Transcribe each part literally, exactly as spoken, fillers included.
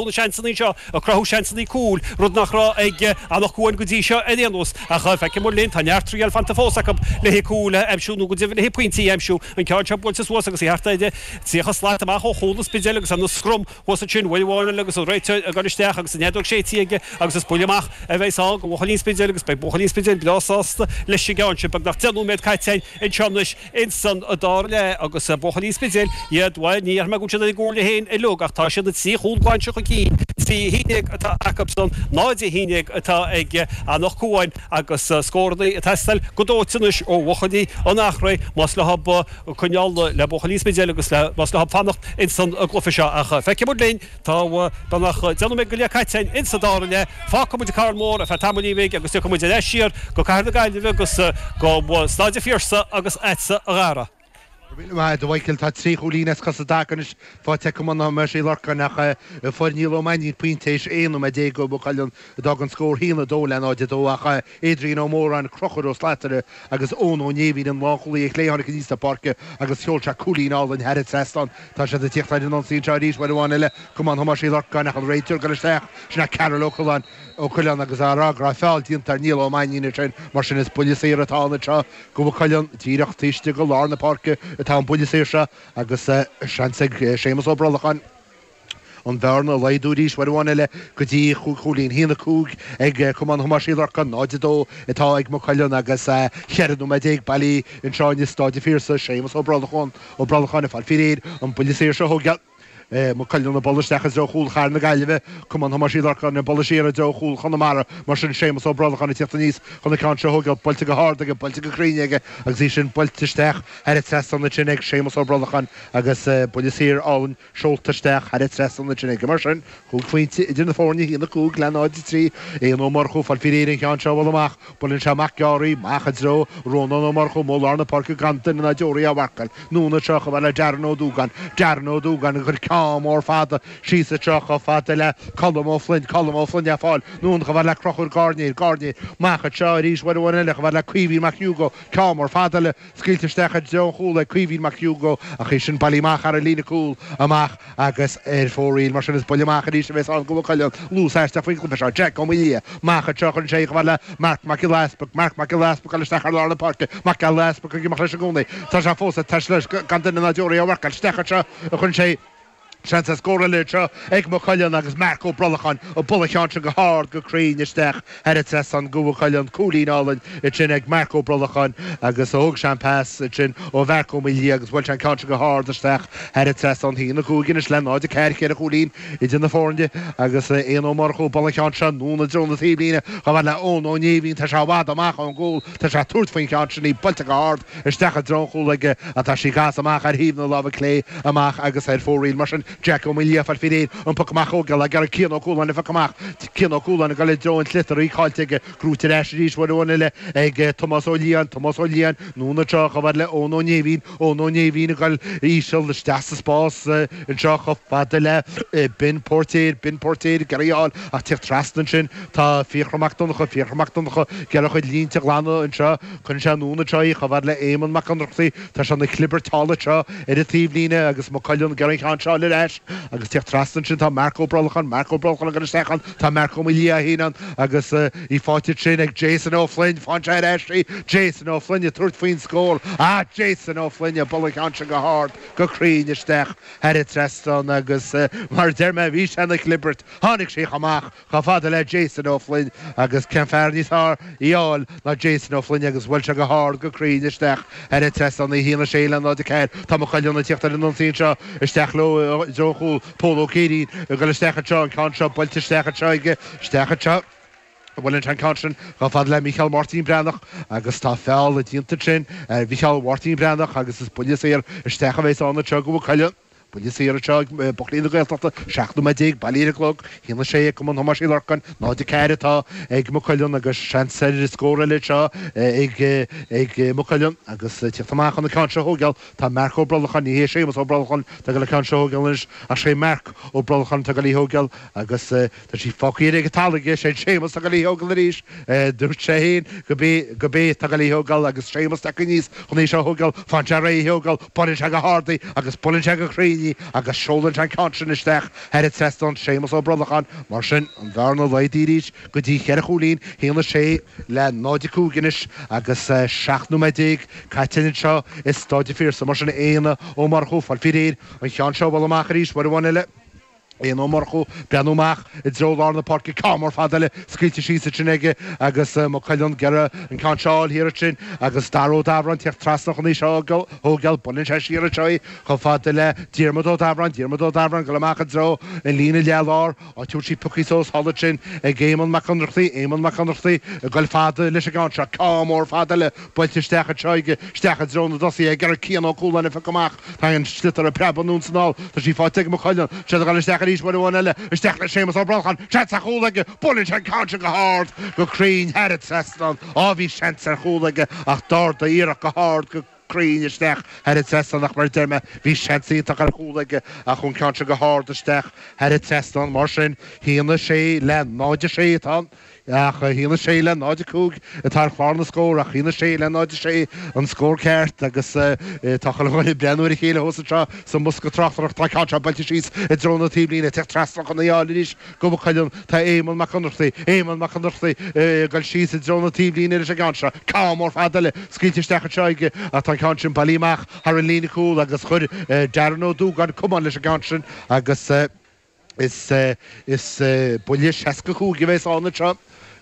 na seansanna seo ag cruthú seansanna cúil rud nach raibh ag Anach Cuain go dtí seo ar aon nós ach feicfidh muid linn tá neart triail fanta fós acu le haghaidh cúil a aimsiú nó go deimhin le haghaidh pointí a aimsiú an ceann seo buailte suas agus í thart ar tríocha slat amach ó chúl an Spidéil agus ana scrum thuas ansin uair amháin eile agus an réiteoir ag dul isteach agus an fheadóg séidte aige agus is buille amach a bheidh ann do bhuachaillí an Spidéil agus beidh buachaillí an Spidéil breá sásta leis an gceann sin beagnach deich nóiméad caite againn anseo anois insan dara leath agus buachaillí an Spidéil iad bhuel ní déarfaidh mé go bhfuil siad ar a gcomhairle féin uilig ach tá siad na trí chúl glan seo chun cinn trí a haon déag atá acusan náid a haon déag atá ag Anach Cuain agus scóranna ag teastáil go dóite anois ó bhuachaillí an Eachréidh más leo coinneáil le buachaillí an Spidéil agus más leo fanacht insan gcluiche seo ach feicfidh muid linn tá beagnach deich nóiméad go leith caite againn insa dara leath fágfaidh muid an Carn Mór ar feadh tamaillín bhig agus tiocfaidh muid ar ais siar go Cathair na Gaillimhe agus go Staid an Phiarsaigh agus agatsa a Dhara. Míle maith agat a Mhichael, tá trí chúilín as cos i dtaca anois faighte ag Cumann Thomáis Uí Lorcáin ach fuair Niall Ó Mainnín pointe théis aon nóiméad déag do Mhaigh Cuilinn a d'fhág an scór haon a dó le náid a dó ach Adrian Ó Móráin, Conchúr Ó Slatara agus Eoin Ó Néimhín an lánchúlaí ar chlé tháinig aníos na páirce agus sheol sé cúilín álainn thar an trasnán. Tá siad ag tíocht ar an ionsaí anseo arís uair amháin eile Cumann Thomáis Uí Lorcáin ach an réiteoir ag dul isteach sin é Karol Ó Coileáin Ó Coileáin agus á rá go raibh feall déanta ar Niall Ó Mainnín ansin mar sin is buille saor atá ann anseo do Mhaigh Cuilinn díreach taobh istigh de lár na páirce atá an buille saor seo agus seans ag Séamus Ó Brolacháin an bhearna a laghdú arís uair amháin eile go dtí chúig chúilín. Haon a cúig ag Cumann Thomáis Uí Lorcáin, náid a dó atá ag Maigh Cuilinn agus cheithre nóiméad déag bailí anseo i Staid an Phiarsaigh. Séamus Ó Brolacháin Ó Brolacháin ag fáil faoi réir an buille saor seo a thógáil. Maigh Cuilinn ag bualadh isteach i dtreo chúl Chathair na Gaillimhe, Cumann Thomáis Uí Lorcáin ag bualadh siar i dtreo chúl Chonamara. Mar sin, Séamus Ó Brolacháin ag tíocht aníos chun an ceann seo a thógáil, buailte go hard aige, buailte go cruinn aige agus í sin buailte isteach thar an trasnán ansin ag Séamus Ó Brolacháin agus buille saor álainn seolta isteach thar an trasnán ansin aige. Mar sin, cúig phointe idir na foirne, a haon a cúig le náid a trí. Éanna Ó Murchú ag fáil faoi réir an ceann seo a bhualadh amach. Buaileann sé amach gearr í, amach i dtreo Rónán Ó Murchú, amuigh i lár na páirce gan duine ná deoraí á mharcáil. Anonn anseo chomh fada le Darren Ó Dúgáin. Darren Ó Dúgáin ag cur ceann mór fada síos anseo chomh fada le Colm Ó Floinn. Colm Ó Floinn á fáil. Anonn chomh fada le Conchúr Gairnéir. Gairnéir amach anseo arís uair amháin eile chomh fada le Caoimhín Mac Hugo. Ceann mór fada eile scaoilte isteach i dtreo an chúil ag Caoimhín Mac Hugo ach í sin bailithe amach thar an líne cúil amach agus ar fóraoil. Mar sin is buille amach arís a bheas ann do Mhaigh Cuilinn. Luas aisteach faoin gcluiche seo. Jack Ó Maoildhia amach anseo chuireann sé í chomh fada le Marc Mac Giolla Easpaig. Marc Mac Giolla Easpaig ag dul isteach ar lár na páirce. Mac Giolla Easpaig ag imeacht leis i gcónaí. Tá sé fós ag taisteal leis gan duine ná deoraí á mharcáil. Isteach anseo a chuireann sé í. Seans ar scór eile anseo ag Maigh Cuilinn agus Marc Ó Brolacháin ag bualadh an cheann sin go hard go cruinn isteach thar an trasnán do Mhaigh Cuilinn. Cúilín álainn ansin ag Marc Ó Brolacháin agus thóg sé an pas ansin ó Mharc Ó Maoildhia agus bhuail sé an ceann sin go hard isteach thar an trasnán. A haon a cúig anois le náid a ceathair ceithre chúilín idir na foirne agus Éanna Ó Murchú ag bualadh an cheann seo anonn i dtreo na taobhlíne chomh fada le Eoin Ó Néimhín. Tá sé i bhfad amach ón gcúl. Tá sé ag tabhairt faoin cheann sin í buailte go hard isteach i dtreo an chúil aige ach tá sí ag casadh amach ar thaobh na láimhe clé amach agus ar fóraoil. Mar sin, Jack Ó Maoildhia ag fáil faoi réir an poc amach a thógáil ag iarraidh Cian Ó Cualáin an phoc amach. Cian Ó Cualáin ag dul i dtreo an tsliotair, í caillte aige. Gnóite ar ais arís uair amháin eile ag Tomás Ó Liatháin. Tomás Ó Liatháin anonn anseo chomh fada le Eoin Ó Néimhín. Eoin Ó Néimhín ag dul íseal isteach sa spás anseo chomh fada le Ben Póirtéir. Ben Póirtéir ag iarraidh í a fháil ach tíocht trasna ansin tá Fiachra Mac Donncha. Fiachra Mac Donncha ag iarraidh a chuid línte a ghlanadh anseo. Cuireann sé anonn anseo í chomh fada le Éamonn Mac Ionnrachtaigh. Tá sé ina chlibirt thall anseo ar an taobhlíne agus Maigh Cuilinn ag iarraidh an ceann seo a fháil ar ais agus tíocht trasna ansin tá Marc Ó Brolacháin, Marc Ó Brolacháin ag dul isteach ann, tá Marc Ó Maoildhia féin ann agus í faighte ansin ag Jason Ó Floinn. Faigheann sé ar ais í. Jason Ó Floinn ag tabhairt faoin scór. Ah, Jason Ó Floinn ag bualadh an ceann sin go hard, go cruinn isteach thar an trasnán agus mar a deir mé bhí sé ina chlibirt. Tháinig sí chomh amach chomh fada le Jason Ó Floinn agus cén fear níos fearr í a fháil ná Jason Ó Floinn agus bhuail sé go hard go cruinn isteach thar an trasnán a haon a sé le náid a ceathair. Tá Maigh Cuilinn ag tíocht ar an ionsaí anseo isteach leo i dtreo an chúil. Pól Ó Céirín ag dul isteach anseo, an ceann seo buailte isteach anseo aige, isteach anseo. Buaileann sé an ceann sin chomh fada le Mícheál Máirtín Breathnach agus tá feall déanta ansin ar Mhícheál Mháirtín Breathnach agus is buille saor isteach a bheas ann anseo do Mhaigh Cuilinn. Buille saor anseo ag buachaillí na Gaeltachta, seacht nóiméad déag bailí ar an gclog, a haon a sé ag Cumann Thomáis Uí Lorcáin, náid a ceathair atá ag Maigh Cuilinn agus seans ar scór eile anseo ag ag Maigh Cuilinn agus tíocht amach chun an ceann seo a thógáil tá Marc Ó Brolacháin, ní hé Séamus Ó Brolacháin atá ag dul an ceann seo a thógáil anois ach sé Marc Ó Brolacháin atá ag dul í a thógáil agus tá sí fágtha ar an talamh aige, sé Séamus atá ag dul í a thógáil arís. Dúirt sé féin go b'é go b'é atá ag dul í a thógáil agus Séamus tagtha aníos chun í seo a thógáil, faigheann sé réidh í a thógáil, buaileann sé go hard í agus buaileann sé go cruinn í. Mainnín agus seolann sé an ceann sin isteach thar an trasnán Séamus Ó Brolacháin mar sin an bhearna laghdaithe arís go dtí cheithre chúilín haon a sé le náid a cúig anois agus seacht nóiméad déag caite anseo i Staid an Phiarsaigh mar sin Éanna Ó Murchú fáil faoi réir an ceann seo bhuel amach arís uair amháin eile. Éanna Ó Murchú breathnú amach i dtreo lár na páirce ceann mór fada eile scaoilte síos ansin aige agus Maigh Cuilinn ag iarraidh an ceann seo a fháil thiar ansin agus Dara Ó Dabhráin teacht trasna chun í seo a thógáil buaileann sé siar anseo í chomh fada le Diarmuid Ó Dabhráin Diarmuid Ó Dabhráin ag dul amach i dtreo an líne leath lár á tabhairt sí pioctha suas thall ansin ag Éamonn Mac Ionnrachtaigh Éamonn Mac Ionnrachtaigh ag dul fada leis an gceann seo ceann mór fada eile buailte isteach anseo aige isteach i dtreo na dtosaithe ag iarraidh Cian Ó Cualáin a phiocadh amach Tá an sliotar ag preabadh anonn is anall. Tá sí faighte ag Maigh Cuilinn. Siad ag dul isteach arís uair amháin eile. Isteach le Séamus Ó Brolcháin. Seans ar chúl aige. Buaileann sé an ceann sin go hard, go cruinn thar an trasnán. Á bhí seans ar chúl aige ach d'ardaigh iarracht go hard, go cruinn isteach thar an trasnán ach mar a deir mé bhí seans iontach ar chúl aige ach chuaigh an ceann sin go hard isteach thar an trasnán. Mar sin, haon a sé le náid a sé atá ann. Ach a haon a sé le náid a cúig atá ar chlár na scór, ach a haon a sé le náid a sé an scór ceart agus tá chuile dhuine ag breathnú ar a chéile thuas anseo sa mbosca tráchtaireachta. Tá ceann seo buailte síos i dtreo na taobhlíne, ag teacht trasna chun í a fháil arís go Maigh Cuilinn. Tá Éamonn Mac Ionnrachtaigh, Éamonn Mac Ionnrachtaigh ag dul síos i dtreo na taobhlíne leis an gceann seo. Ceann mór fada eile scaoilte isteach anseo aige ach tá an ceann sin bailithe amach thar an líne cúil agus chuir Darren Ó Dúgáin camán leis an gceann sin agus Is is buille seasca cúig a bheas ann anseo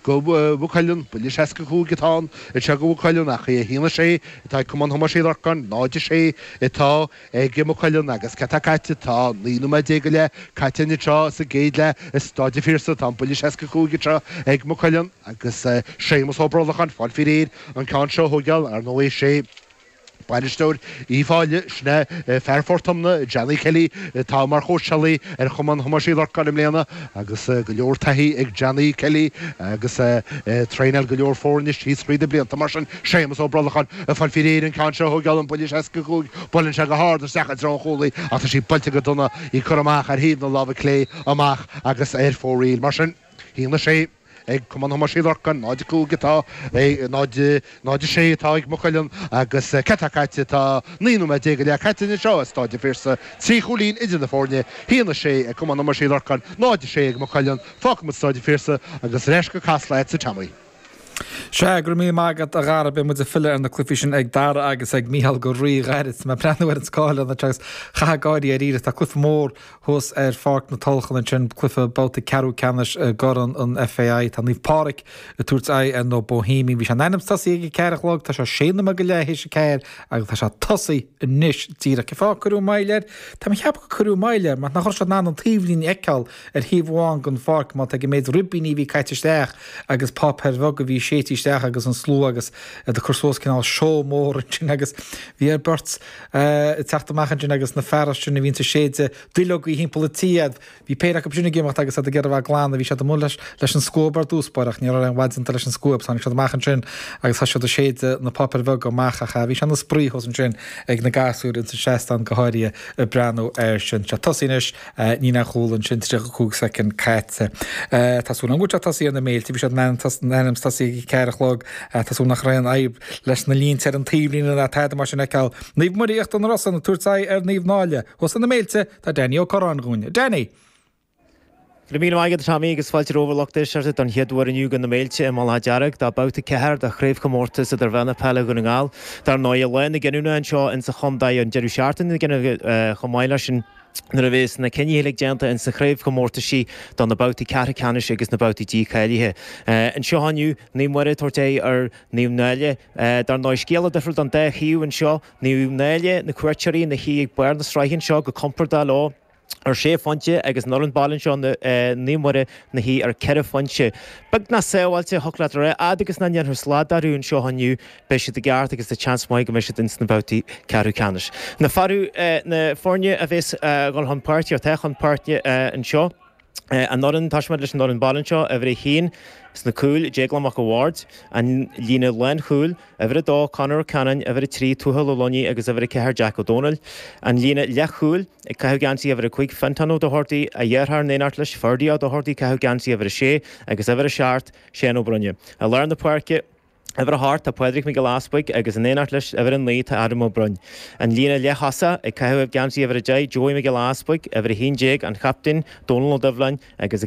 go Mhaigh Cuilinn, buille seasca cúig atá ann anseo go Mhaigh Cuilinn ach a haon a sé atá ag Cumann Thomáis Uí Lorcáin, náid a sé atá ag Maigh Cuilinn agus cad tá caite? Tá naoi nóiméad déag go leith caite anseo sa gcéad leath i Staid an Phiarsaigh. Tá an buille seasca cúig anseo ag Maigh Cuilinn agus Séamus Ó Brolacháin fáil faoi réir an ceann seo a thógáil, ar ndóigh is é Bainisteoir Uíbh Fhailí, sin é fear Phort Omna, Johnny Kelly, atá mar chóitseálaí ar Chumann Thomáis Uí Lorcáin i mbliana agus go leor taithí ag Johnny Kelly agus é ag traenáil go leor foirne síos thríd na blianta. Mar sin, Séamus Ó Brolacháin ag fáil faoi réir an ceann seo a thógáil, an buille seasca cúig, buaileann sé go hard isteach i dtreo an chúlaí ach tá sí buailte go dona, í curtha amach ar thaobh na láimhe clé amach agus ar fóraoil. Mar sin, a haon a sé. Ag Cumann Thomáis Uí Lorcáin, náid a cúig atá, náid, náid a sé atá ag Maigh Cuilinn agus cad tá caite, tá naoi nóiméad déag go leith caite anseo i Stáid an Phiarsaigh, trí chúilín idir na foirne, haon a sé ag Cumann Thomáis Uí Lorcáin, náid a sé ag Maigh Cuilinn, fágfaimid Stáid an Phiarsaigh agus ar ais go Casla agatsa Tommy. Sea, go raibh míle maith agat a Dhara, beidh muid ag filleadh ar na cluichí sin ag Dara agus ag Mícheál go rí-ghairid. Tá mé ag breathnú ar an scáileán anseo agus chaithfeá gáirí dáiríre, tá cluiche mór thuas ar Pháirc na Tulchann ansin, cluiche babhta ceathrú ceannais i gCorn an FAI. Tá Naomh Pádraig ag tabhairt aghaidh ar na Bohemians. Bhí sé in ainm is tosaí ag a ceathair a chlog, tá sé sé nóiméad go leith théis a ceathair agus tá sé tosaithe anois díreach. Cén fáth ar cuireadh moill air? Tá mé ag ceapadh gur cuireadh moill air mar nach raibh siad in ann an taobhlíne a fheiceáil ar thaobh amháin den pháirc má tá ag an méid ribíní a bhí caite isteach agus páipéir bheaga a bhí séidte isteach agus an slua agus iad ag cur suas cineál seó mór ansin agus bhí ar beirt ag teacht amach ansin agus na feara sin a bhíonns ag séideadh duilleogaí thimpeall an tí iad. Bhí péire acu sin ag imeacht agus iad ag iarraidh a bheith glan bhí siad amuigh leis leis an scuab ar dtús báire ach ní raibh aon mhaith déanta leis an scuab. Tháinig siad amach ansin agus thosaigh siad ag séideadh na páipéir bheaga amach ach bhí sé ina spraoi thuas ansin ag na gasúir ins an seastán go háirithe ag breathnú air sin. Tá sé tosaithe anois níl aon chúl ansin tríocha cúig soicind caite. Tá súil agam go bhfuil sé tosaithe ar na Méilte, bhí siad in ainm is tosaí ag a ceathair a chlog. Tá súil nach raibh aon fhadhb leis na línte ar an taobhlíne ná tada mar sin a fheiceáil. Naomh Muire Íochtar na Rosann ag tabhairt aghaidh ar Naomh Náille. Thuas ar na Méilte tá Danny Ó Curráin dhúinn. Danny! Go raibh míle maith agat, a Tommy, agus fáilte romhaibh a lucht éisteachta don chéad uair inniu go na Méilte i mBaile Átha Dearg do Babhta ceathair de Chraobhchomórtas Idirmheánach Peile Dhún na nGall. Dar ndóigh, lá na gcinniúna anseo insa chontae, an deireadh seachtaine na gcinniúna chomh maith leis sin, nuair a bhéas na cinntí uilig déanta insa chraobhchomórtaisí do na babhtaí ceathrú ceannais agus na babhtaí dícháilithe. Anseo inniu, Naomh Muire ag tabhairt aghaidh ar Naomh Náille. Dar ndóigh, scéala difriúil don dá thaobh anseo, Naomh Náille, na cuairteoirí ina shuí ag barr na sraithe anseo go compordach leo, ar sé phointe agus an fhoireann baile anseo, Naomh Muire, ina shuí ar ceithre phointe. Beagnach sábháilte, thiocfadh leat a rá, fhad agus nach ndéanfar slad orthu anseo inniu, beidh siad i gceart agus tá seans maith go mbeidh siad ins na babhtaí ceathrú ceannais. Na na foirne a bhéas ag dul chun páirce, atá chun páirce anseo, an fhoireann, tosóidh muid leis an fhoireann baile anseo, uimhir a haon sna cúil, Déaglán Mac a' Bhaird, an líne lánchúil, uimhir a dó, Conor Ó Ceannáin, uimhir a trí, Tuathal Ó Loinigh agus uimhir a ceathair, Jack Ó Dónaill. An líne leathchúil, ag caitheamh geansaí uimhir a cúig, Fintán Ó Dochartaigh, a dheartháir in éineacht leis, Ferdie Ó Dochartaigh, ag caitheamh geansaí uimhir a sé agus uimhir a seacht, Seán Ó Broinne. I lár na páirce, Uimhir a hocht tá Pádraig Mac Giolla Easbuig agus in éineacht leis uimhir a naoi tá Adam Ó Broin. An líne leath-thosaigh ag caitheamh geansaí uimhir a deich Joey Mac Giolla Easbuig, uimhir a haon déag an chaptaen Dónal Ó Doibhleáin agus